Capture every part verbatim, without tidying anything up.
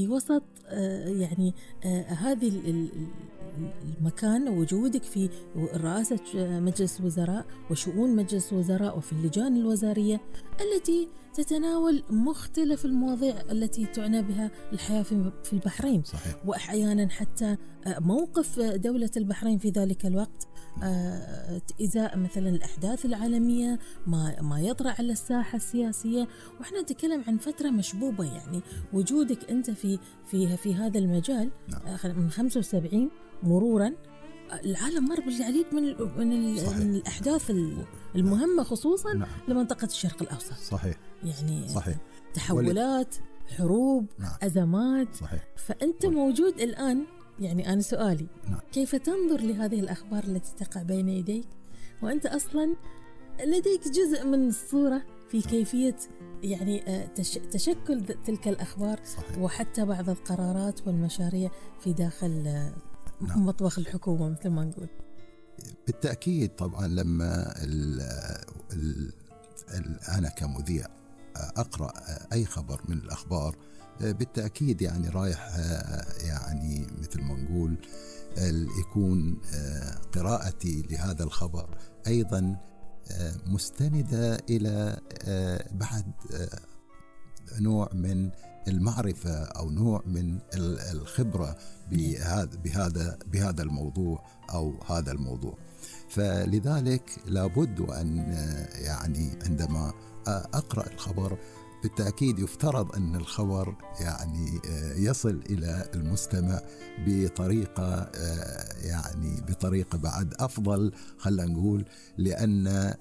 في وسط آه يعني آه هذه المكان، وجودك في رئاسة مجلس الوزراء وشؤون مجلس الوزراء وفي اللجان الوزارية التي تتناول مختلف المواضيع التي تعنى بها الحياة في البحرين. صحيح. وأحيانا حتى موقف دولة البحرين في ذلك الوقت إزاء مثلا الأحداث العالمية، ما ما يطرأ على الساحة السياسية. وإحنا نتكلم عن فترة مشبوبة، يعني وجودك أنت في في في هذا المجال من خمسة وسبعين مرورا العالم مر بالعديد من من, من الأحداث المهمة خصوصا نعم. لمنطقة الشرق الأوسط. صحيح. يعني صحيح. تحولات ولي... حروب نعم. أزمات. صحيح. فأنت ولي... موجود الآن. يعني أنا سؤالي نعم. كيف تنظر لهذه الأخبار التي تقع بين يديك وأنت أصلا لديك جزء من الصورة في كيفية يعني تشكل تلك الأخبار صحيح. وحتى بعض القرارات والمشاريع في داخل نعم. مطبخ الحكومة مثل ما نقول. بالتأكيد طبعا لما ال ال ال أنا كمذيع أقرأ أي خبر من الأخبار بالتأكيد يعني رايح يعني مثل ما نقول يكون قراءتي لهذا الخبر أيضا مستندة إلى بعد نوع من المعرفة أو نوع من الخبرة بهذا بهذا بهذا الموضوع أو هذا الموضوع. فلذلك لابد أن يعني عندما أقرأ الخبر بالتأكيد يفترض أن الخبر يعني يصل إلى المستمع بطريقة يعني بطريقة بعد أفضل خلينا نقول، لأن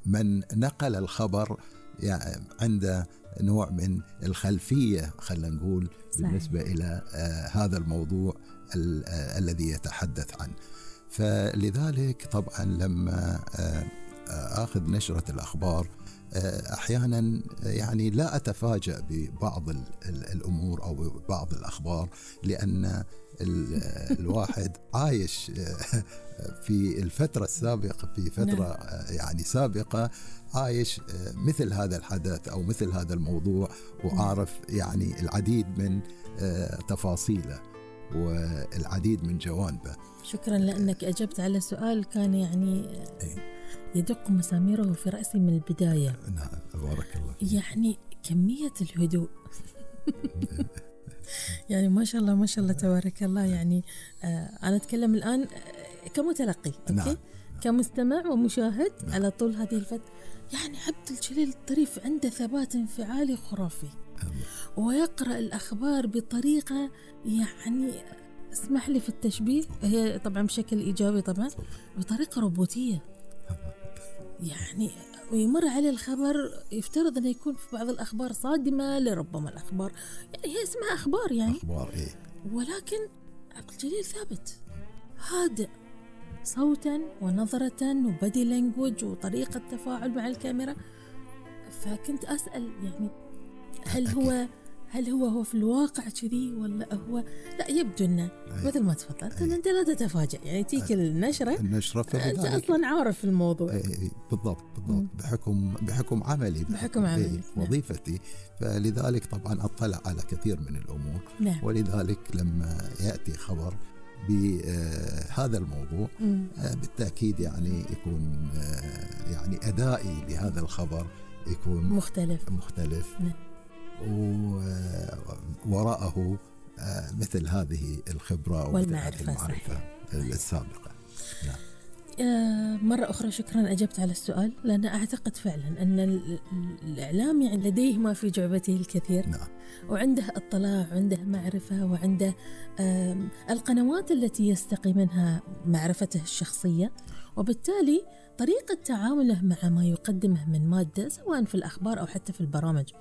من نقل الخبر يعني عنده نوع من الخلفية خلينا نقول بالنسبة صحيح. إلى هذا الموضوع الذي يتحدث عنه. فلذلك طبعا لما آخذ نشرة الأخبار أحيانا يعني لا أتفاجأ ببعض الأمور أو بعض الأخبار، لأن الواحد عايش في الفترة السابقة في فترة يعني سابقة عايش مثل هذا الحدث أو مثل هذا الموضوع وعارف يعني العديد من تفاصيله والعديد من جوانبه. شكرا لأنك أجبت على سؤال كان يعني يدق مساميره في رأسي من البداية. نعم بارك الله. يعني كمية الهدوء يعني ما شاء الله ما شاء الله تبارك الله. يعني آه أنا أتكلم الآن كمتلقي أوكي؟ نعم. كمستمع ومشاهد نعم. على طول هذه الفترة يعني عبد الجليل الطريف عنده ثبات انفعالي خرافي ويقرأ الأخبار بطريقة يعني اسمح لي في التشبيه، هي طبعا بشكل إيجابي طبعا، بطريقة روبوتية. يعني ويمر عليه الخبر يفترض أن يكون في بعض الأخبار صادمة لربما الأخبار يعني هي اسمها أخبار يعني أخبار إيه، ولكن عبد الجليل ثابت هادئ صوتا ونظرة وبدي لانجوج وطريقة تفاعل مع الكاميرا. فكنت أسأل يعني هل هو هل هو هو في الواقع كذي ولا هو لا؟ يبدو انه مثل ما تفضلت انت لا تتفاجأ يعني تيك النشرة النشرة انت اصلا عارف الموضوع. بالضبط بالضبط بحكم بحكم عملي بحكم عملي وظيفتي. فلذلك طبعا اطلع على كثير من الامور نعم. ولذلك لما ياتي خبر بهذا الموضوع بالتأكيد يعني يكون يعني أدائي لهذا الخبر يكون مختلف مختلف نعم. ووراءه مثل هذه الخبرة والمعرفة المعرفة السابقة. نعم. مرة أخرى شكرا أجبت على السؤال، لأن أعتقد فعلا أن الإعلام يعني لديه ما في جعبته الكثير نعم. وعنده اطلاع وعنده معرفة وعنده القنوات التي يستقي منها معرفته الشخصية، وبالتالي طريقة تعامله مع ما يقدمه من مادة سواء في الأخبار أو حتى في البرامج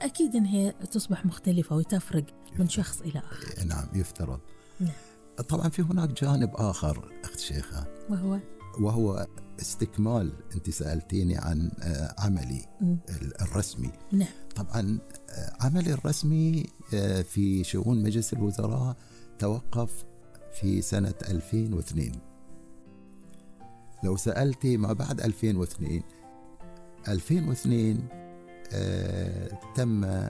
أكيد أن هي تصبح مختلفة وتفرق من شخص إلى آخر. نعم يفترض. نعم. طبعا في هناك جانب آخر أخت شيخة وهو وهو استكمال. أنت سألتيني عن عملي م. الرسمي. نعم. طبعا عملي الرسمي في شؤون مجلس الوزراء توقف في سنة ألفين واثنين. لو سألتي ما بعد ألفين واثنين ألفين واثنين آه تم آه